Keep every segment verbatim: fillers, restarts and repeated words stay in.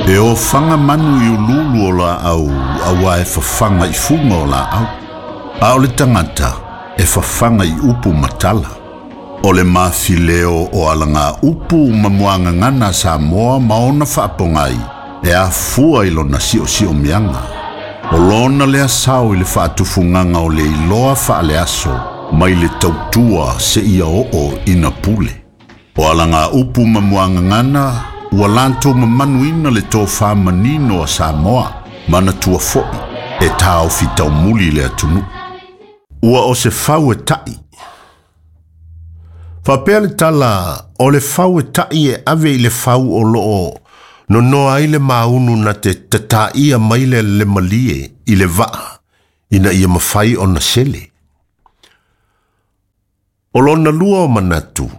E ofaga manu i uluulu o laau auā e fafaga i fuga o laau. A o le tagata e fafaga i upu ma tala. O le mafileo o alaga upu ma muagagana a Samoa ma ona faapogai e afua i lona siosiomiaga. O lona lea sao i le faatufugaga o le iloa faaleaso mai le tautua seia oo ina pule. O alaga upu ma muagagana ua latou mamanuina le tofā manino a Samoa manatua fo'i e taofi taumuli le atunuu. Ua o se fau e ta'i. Faapea le tala o le fau e ta'i e ave i le fau o loo nonoa ai le maunu na te tataia mai le le malie i le vaa ina ia mafai ona sele. O lona lua o manatu,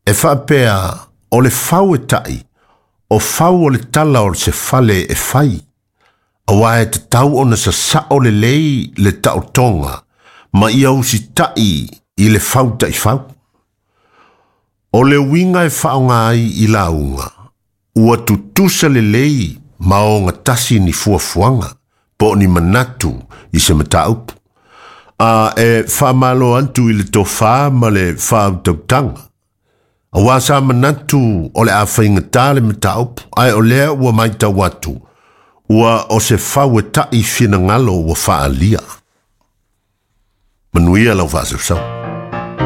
e faapea o le fau e ta'i, o fau o le tala o se fale e fai, auā e tatau ona sasao lelei le taotoga ma ia usita'i i le fau taʻifau. O le uiga e faaaoga ai i lauga, ua tutusa lelei ma ogatasi ni fuafuaga po o ni manatu i se mataupu. A e faamalo atu i le tofā ma le faautautaga. Auā sa manatu o le a faigatā le mataupu, ae o lea ua matau atu, ua o se fau e ta'i finagalo ua faaalia. Manuia lau faasausau.